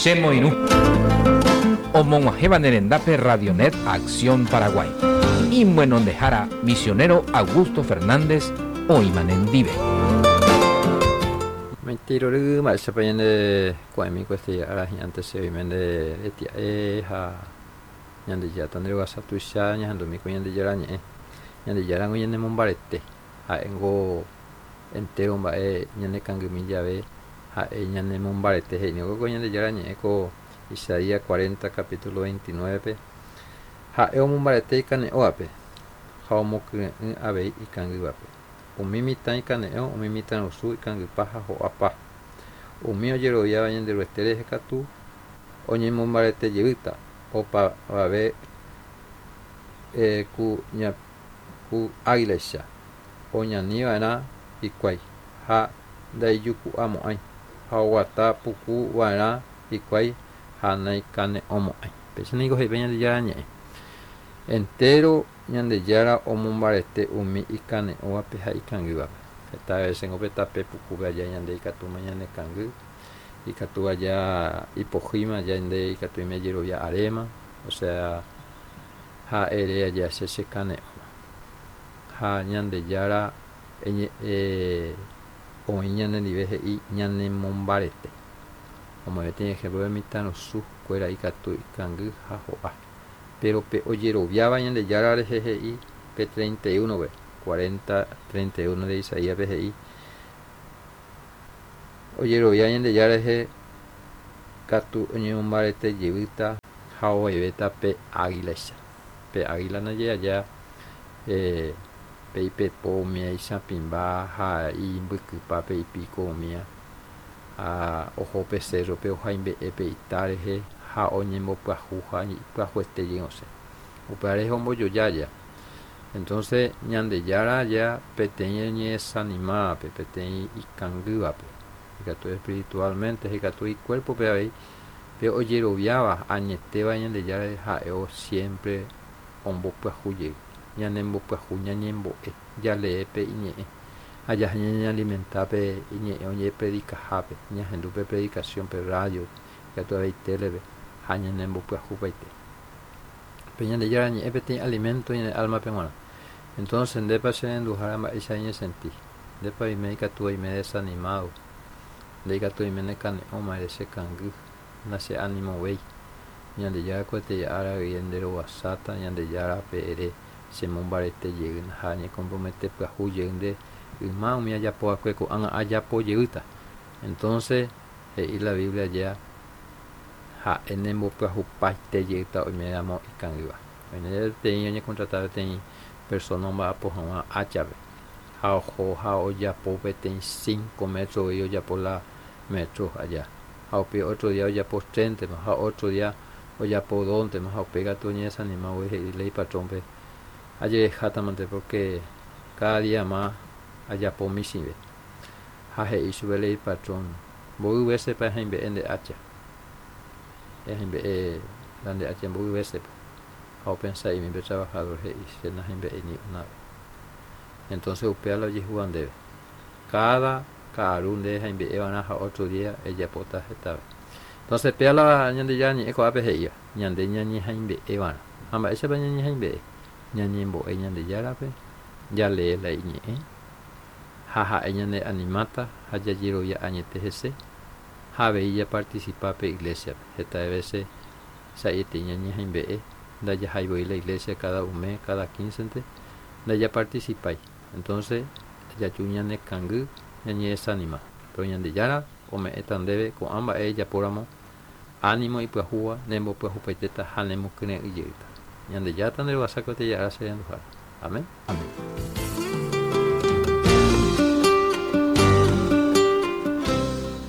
Che moirũ. Omog̃uahẽva ne rendápe Radionet Acción Paraguay. Imyenondehára misionero Augusto Fernández oĩma nendive. Maitei rory mba'éichapa ñande ko'ẽmi ko este ára hi'ãnte che oime nde retia'e ha Ñandejára nde rohasa tuicha ñahendumi ko Ñandejára ñe'ẽ. Ñandejára ngo ñanemombarete, ha'éngo entéro mba'e ñanekangymi jave ha'e ñanemombarete he'i ningo ko Ñandejára ñe'ẽ ko Isaías 40 capítulo 29-pe ha'e omombarete ikane'õvape ha omokyre'ỹ avei ikangývape. Umi mitã ikane'õ, umi mitãrusu ikangypa ha ho'apa. Umi ojeroviáva Ñanderuete rehe katu oñemombarete jeýta, opavave ku ku águilaicha oñani va'erã hikuái ha ndaijuku'amo'ãi, ha oguata puku va'erã hikuái ha naikane'õmo'ãi. Péicha niko he'i pe Ñandejára Ñe'ẽ. Entéro Ñandejára omombarete umi ikane'õvape ha ikangývape. Heta vésengo pe tape pukúpe aja ñande ikatúma ñanekangy, ikatu aja ipohýima ñande ikatu oime jerovia aréma, osea ha ere aja che chekane'õma. Ha Ñandejára oĩ ñanendive he'i ñanemombarete. Omoĩ peteĩ ejemplo pe mitãrusu kuéra ikatu ikangy ha ho'a. Péro pe ojeroviáva Ñandejára rehe he'i pe 31-pe, 40, 31 de Isaías-pe he'i, Ojerovia Ñandejára rehe katu oñemombarete jevýta ha ovevéta pe águilaicha. Pe águila ndaje aja pe ipepo umía ichapĩmba ha imbykypa pe ipíko umía ha oho pe cérrope ohaimbe'e pe ita rehe ha oñembopyahu ha ipyahuete jey osẽ. Upéva rehe ombojoja aja. Entonces Ñandejára aja peteĩ oñedesanimávape, peteĩ ikangývape, ikatu espiritualmente ha ikatu icuérpope avei, pe ojeroviáva añetéva Ñandejára rehe ha'e siempre ombopyahu jey, ñanembopyahu, ñañembo'e, jalee pe iñe'ẽ ha jaha ñañealimenta pe iñe'ẽ oñepredikahápe, ñahendu pe predicación pe radio, ikatu avei télepe ha ñanembopyahupaite. Pe Ñandejára ñe'ẽ peteĩ alimento ñane álmape g̃uarã. Entonces, ndépa che renduhára mba'éicha reñesenti? Ndépa oime ikatu oime desanimado? Nde ikatu oime nekane'õma ere che kangy, nache'animovéi. Ñandejára kuetei ára guive nde rovasáta, Ñandejárape ere chemombarete jey ha añekompromete pyahu jey nde yma umi ajapo va'ekue ko'ág̃a ajapo jeýta. Entonces, he'i la Biblia aja, ha'e nembopyahupaite jeýta oiméramo ikangýva. Oime peteĩ oñekontrata peteĩ persóna omba'apo hag̃ua áchape, ha oho ha ojapo peteĩ cinco métro voi ojapo la métro aja, ha upéi ótro día ojapo tréntema, ha ótro día ojapo dóntema, ha upéi katu oñedesanima voi he'i la ipatrónpe, Ajerehátamante pórke káda día ma ajapo michĩve. Ha he'i chupe la ipatrón, Mboy vésepa ehaimbe'e nde ácha? Ehaimbe'e la nde ácha mboy vésepa? Ha opensa'imi pe travahadór he'i, Che nahaimbe'éi ni una ves. Entónse upéva la ojehúva ndéve. Káda ka'aru nde ehaimbe'e va'erã ha ótro día ejapóta hetave. Entónse péva la Ñandejára Ñe'ẽ ko'ápe he'íva, ñande ñañehaimbe'e va'erã. Ha mba'éichapa ñañehaimbe'e? Ñañembo'e Ñandejárape, jalee la Iñe'ẽ, ha ha'e ñaneanimáta ha jajerovia añete hese, ha avei japartisipa pe iglésiape. Heta vése sa'ietei ñañehaimbe'e, ndajahái voi la iglésia káda un mes, káda quíncente, ndajapartisipái. Entónse jaju ñanekangy, ñañedesanima. Péro Ñandejára ome'ẽta ndéve ko'ã mba'e ejapóramo, ánimo ipyahúva nembopyahupaitéta ha nemokyre'ỹ jeýta. Ñandejára tanderovasa ko tejára che renduhára. Amén. Amén.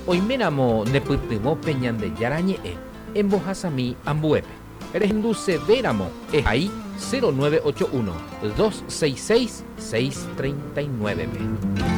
Oiméramo nepytyvõ pe Ñandejára Ñe'ẽ, embohasami ambuépe. Rehendusevéramo ehai 0981 266 639-pe.